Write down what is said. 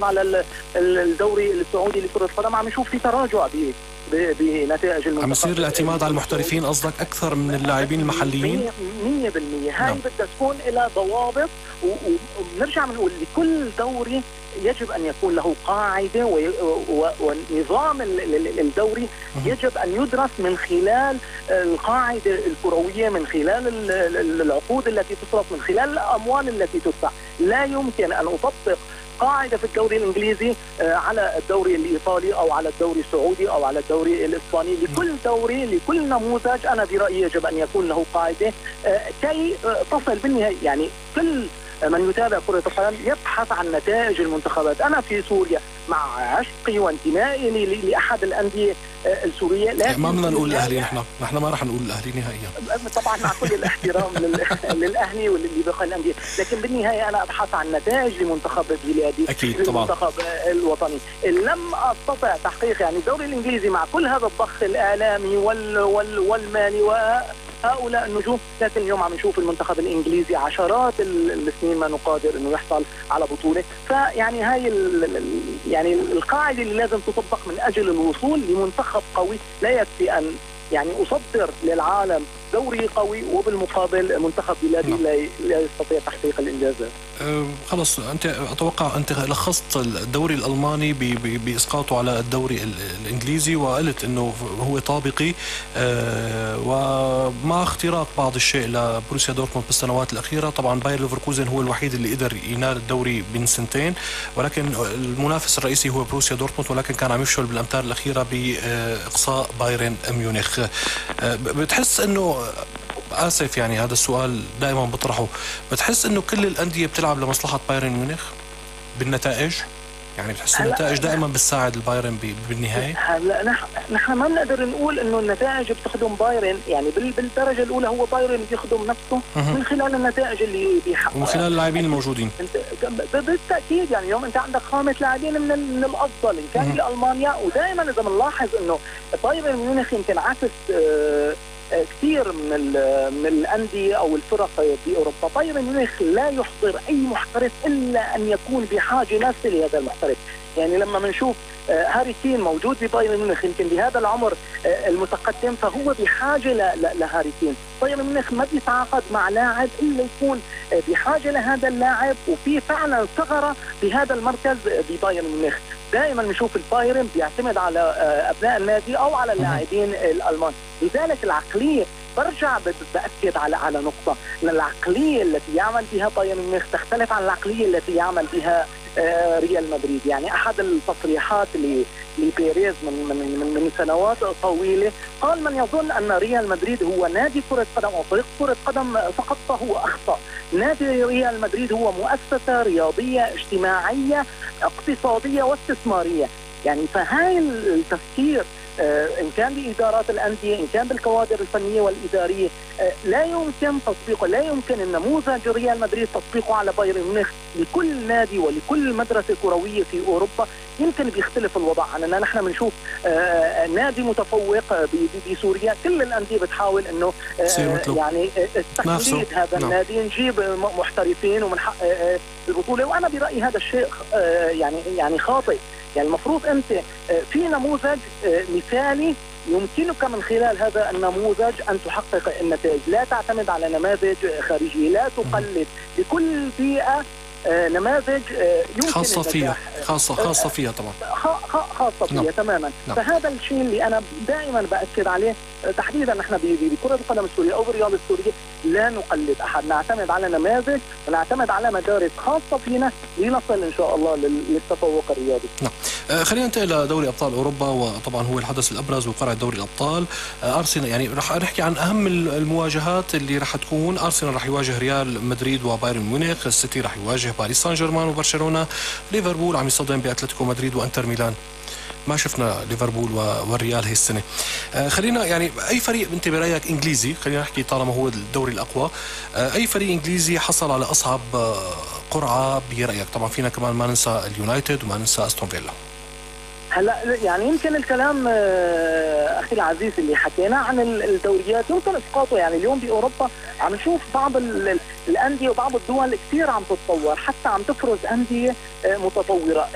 على الدوري السعودي لكرة القدم عم نشوف في تراجع بنتائج المنتخب. عم يصير الاعتماد على المحترفين قصدك أكثر من اللاعبين المحليين؟ 100%. هاي بدها تكون لها ضوابط، وبنرجع بنقول لكل دوري يجب أن يكون له قاعدة، ونظام الدوري يجب أن يدرس من خلال القاعدة الكروية، من خلال العقود التي تصرف، من خلال الأموال التي تدفع. لا يمكن أن أطبق قاعدة في الدوري الإنجليزي على الدوري الإيطالي أو على الدوري السعودي أو على الدوري الإسباني. لكل دوري، لكل نموذج أنا برأيي يجب أن يكون له قاعدة كي تصل بالنهاية. يعني كل من يتابع كرة القدم يبحث عن نتائج المنتخبات. أنا في سوريا مع عشقي وانتمائي لأحد الأندية السورية، لكن ما بدنا نقول الأهلي، نحن ما رح نقول الأهلي نهائيا طبعا، مع كل الاحترام للأهلي واللي بقى الأندية، لكن بالنهاية أنا أبحث عن نتائج لمنتخب بلادي، أكيد طبعا، المنتخب الوطني. لم أستطع تحقيق يعني الدوري الإنجليزي مع كل هذا الضخ الإعلامي والمالي هؤلاء النجوم، لكن اليوم عم نشوف المنتخب الإنجليزي عشرات السنين ما نقادر إنه يحصل على بطولة. فيعني هاي يعني القاعدة اللي لازم تطبق من أجل الوصول لمنتخب قوي. لا يكفي أن يعني أصدر للعالم دوري قوي وبالمقابل منتخب بلادي لا يستطيع تحقيق الإنجازات. خلص، أنت أتوقع أنت لخصت الدوري الألماني بإسقاطه على الدوري الإنجليزي، وقلت أنه هو طابقي ومع اختراق بعض الشيء لبروسيا دورتموند بالسنوات الأخيرة. طبعا باير ليفركوزن هو الوحيد اللي قدر ينال الدوري بين سنتين، ولكن المنافس الرئيسي هو بروسيا دورتموند، ولكن كان عم يفشل بالأمتار الأخيرة بإقصاء بايرن ميونخ. بتحس أنه، آسف يعني هذا السؤال دائما بطرحه، بتحس انه كل الأندية بتلعب لمصلحة بايرن ميونخ بالنتائج؟ يعني بتحس النتائج دائما بتساعد البايرن بالنهاية؟ هلا نحن ما بنقدر نقول انه النتائج بتخدم بايرن، يعني بالدرجة الأولى هو بايرن بيخدم نفسه من خلال النتائج اللي بيحققها ومن خلال اللاعبين الموجودين. بالتأكيد، يعني اليوم انت عندك خامة لاعبين من الأفضل إن كان في ألمانيا، ودائما إذا بنلاحظ انه بايرن ميونخ يمكن عكس كثير من الأندية أو الفرق بأوروبا. بايرن ميونخ لا يحضر أي محترف إلا أن يكون بحاجة ماسة لهذا المحترف. يعني لما بنشوف هاري كين موجود ببايرن ميونخ يمكن بهذا العمر المتقدم، فهو بحاجة لهاري كين. بايرن ميونخ ما بيتعاقد مع لاعب إلا يكون بحاجة لهذا اللاعب، وفي فعلا ثغرة بهذا المركز ببايرن ميونخ. دائما نشوف البايرن بيعتمد على أبناء النادي أو على اللاعبين الألمان. لذلك العقلية، برجع بأكد على نقطة، أن العقلية التي يعمل بها بايرن ميونخ تختلف عن العقلية التي يعمل بها ريال مدريد. يعني أحد التصريحات لبيريز من سنوات طويلة قال: من يظن أن ريال مدريد هو نادي كرة قدم أو فريق كرة قدم فقط فهو أخطأ. نادي ريال مدريد هو مؤسسة رياضية اجتماعية اقتصادية واستثمارية. يعني فهاي التفكير إن كان بإدارات الأندية، إن كان بالكوادر الفنية والإدارية، لا يمكن تطبيقه، لا يمكن النموذج ريال مدريد تطبيقه على بايرن ميونخ. لكل نادي ولكل مدرسة كروية في أوروبا يمكن بيختلف الوضع عننا. نحن بنشوف نادي متفوق بسوريا، كل الأندية بتحاول إنه يعني تقليد هذا النادي، نجيب محترفين ومنحقق البطولة. وأنا برأيي هذا الشيء يعني خاطئ. يعني المفروض أنت في نموذج مثالي يمكنك من خلال هذا النموذج أن تحقق النتائج. لا تعتمد على نماذج خارجية، لا تقلد. لكل بيئة نماذج يمكن خاصة فيها، خاصة فيها طبعا، خاصة فيها تماما. فهذا الشيء اللي أنا دائما بأكد عليه، تحديدا نحن بكرة القدم السورية أو بالرياضة السورية لا نقلد أحد، نعتمد على نماذج ونعتمد على مدارس خاصة فينا لنصل إن شاء الله للتفوق الرياضي. خلينا ننتقل لدوري أبطال أوروبا، وطبعا هو الحدث الأبرز وقرعة دوري الأبطال. أرسنال، يعني رح نحكي عن أهم المواجهات اللي رح تكون. أرسنال رح يواجه ريال مدريد وبايرن ميونخ، السيتي رح يواجه باريس سان جيرمان وبرشلونة، ليفربول عم يصطدم بأتلتيكو مدريد وأنتر ميلان. ما شفنا ليفربول والريال هي السنة. خلينا يعني أي فريق أنت برأيك إنجليزي، خلينا نحكي طالما هو الدوري الأقوى، أي فريق إنجليزي حصل على أصعب قرعة برأيك؟ طبعا فينا كمان ما ننسى اليونايتد وما ننسى أستون فيلا. هلا يعني يمكن الكلام اخي العزيز اللي حكينا عن الدوريات يمكن اسقاطه. يعني اليوم باوروبا عم نشوف بعض الانديه وبعض الدول كثير عم تتطور، حتى عم تفرز انديه متطوره.